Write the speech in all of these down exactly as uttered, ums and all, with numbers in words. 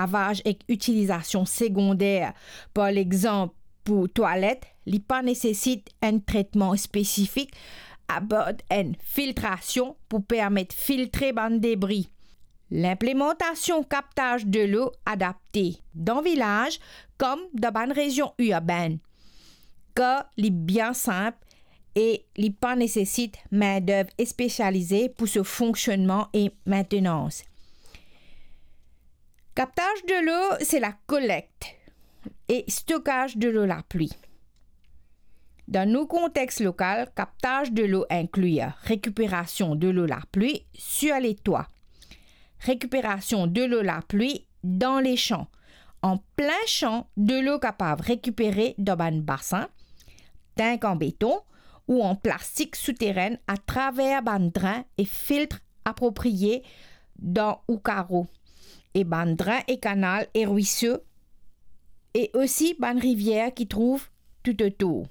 lavaj ek itilizasion segonder, par lexanp pou twalet, li pa nesesit enn tretman spesifik, apar enn filtrasion pou permet filtre bann debri. Linplimantasion kaptaz delo adapte dan vilaz kom dan bann rezion irbenn, kar li bien sinp e li pa nesesit mindev spesialize pou so fonksionnman e maintenans. Kaptaz delo, se lakolekt e stokaz delo lapli. Dan nou kontex lokal, kaptaz delo inkli rekiperasion delo lapli sir letwa, rekiperasion delo lapli dan lesan. An plin san, delo kapav rekipere dan bann basin, tank an beton ou an plastik souterenn atraver bann drin e filtre apropriye dan ou karo, e bann drin e kanal e rwiso, e osi bann rivier ki trouv toutotour.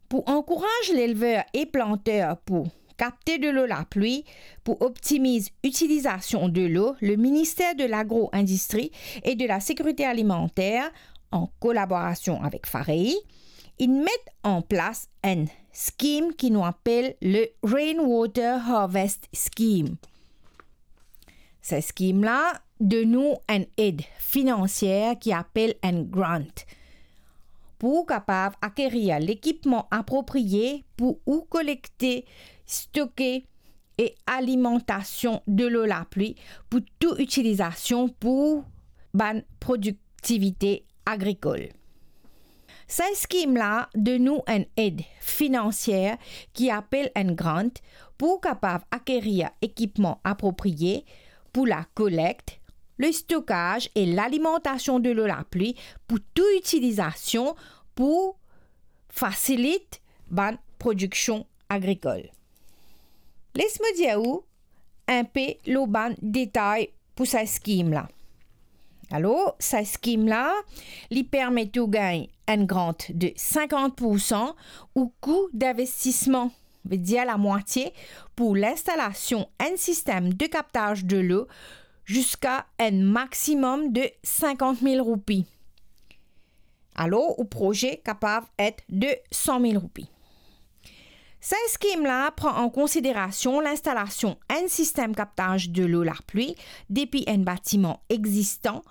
Pou ankouraz lelver e planter pou kapte delo lapli, pou optimiz itilizasion delo, le Ministère de l'Agro-Industrie et de la Sécurité Alimentaire, an kolaborasion avek FAREI, inn met an plas enn skim ki nou apel le Rainwater Harvest Scheme. Sa skim la donn ou enn ed finansier ki apel enn grant, pou ou kapav akerir lekipman apropriye pou ou kolekte, stoke e alimantasion delo lapli pou tou itilizasion pou bann prodiktivite agrikol. Sa skim la donn ou enn ed finansier ki apel enn grant pou ou kapav akerir ekipman apropriye pou lakolekt, le stokaz e lalimantasion delo lapli pou tou itilizasion pou fasilit bann prodiksion agrikol. Les mo dir ou inpe lor bann detay pou sa skim la. Alor, sa skim la, li permet ou gagn enn grant de sinkant poursan ou kou dinvestisman, vedir lamwatie, pou linstalasion enn sistem de kaptaz delo ziska enn maximum de sinkant mil roupi. Alor, ou proze kapav et de san mil roupi. Sa skim la pran an konsiderasion linstalasion enn sistem kaptaz delo lapli depi enn batiman existan,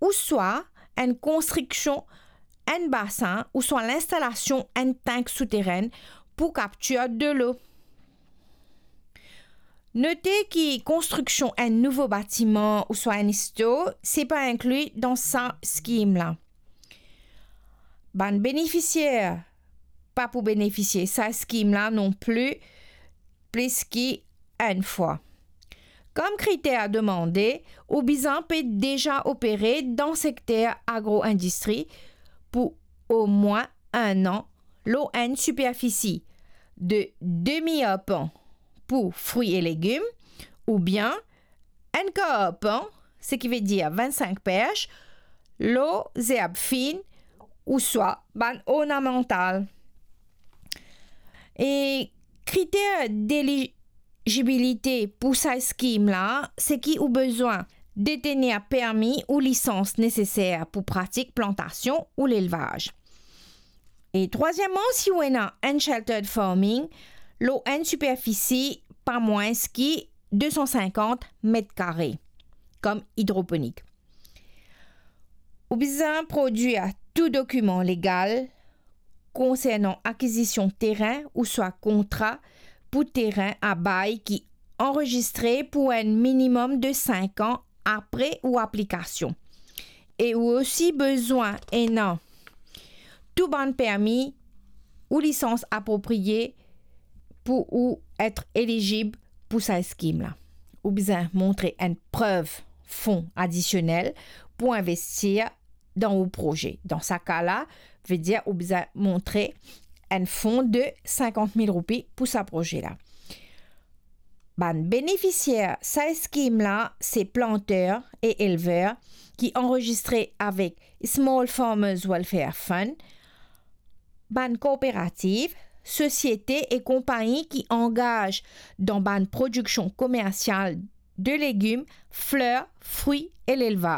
ouswa enn konstriksion enn basin, ouswa linstalasion enn tank souterenn pou kaptir delo. Note ki konstriksion enn nouvo batiman ouswa enn stor, se pa inkli dan sa skim la. Bann benefisier pa pou benefisie sa skim la non pli plis ki enn fwa. Kom kriter demande, ou bizin pe deza opere dan sekter agro-indistri pou omwin enn an lor enn siperfisi de demi arpan pou fri e legim, oubien enn kar arpan, seki vedir vinn-sink perch, lor zerb fin ouswa bann ornamantal. E kriter delizibilite pou sa skim la, seki ou bizin detenir permi ou lisans neseser pou pratik plantasion ou lelvaz. E trwazieman, si ou ena enn sheltered farming lor enn siperfisi pa mwins ki de san sinkant met kare, kom idroponik. Ou bizin prodwir tou dokiman legal konsernan akizision terin ouswa kontra pou terin a bay ki anrezistre pou enn minimum de sink an apre ou aplikasion. E ou osi bizin ena tou bann permi ou lisans apropriye pou ou et elizib pou sa skim la. Ou bizin montre enn prev fon adisionel pou investir dan ou proze. Dan sa ka la, vedir ou bizin montre enn fon de sinkant mil roupi pou sa proze la. Bann benefisier sa skim la, se planter e elver ki anrezistre avek Small Farmers Welfare Fund, bann kooperativ, sosiete e konpagni ki angaz dan bann prodiksion komersial de legim, fler, fri e lelvaz.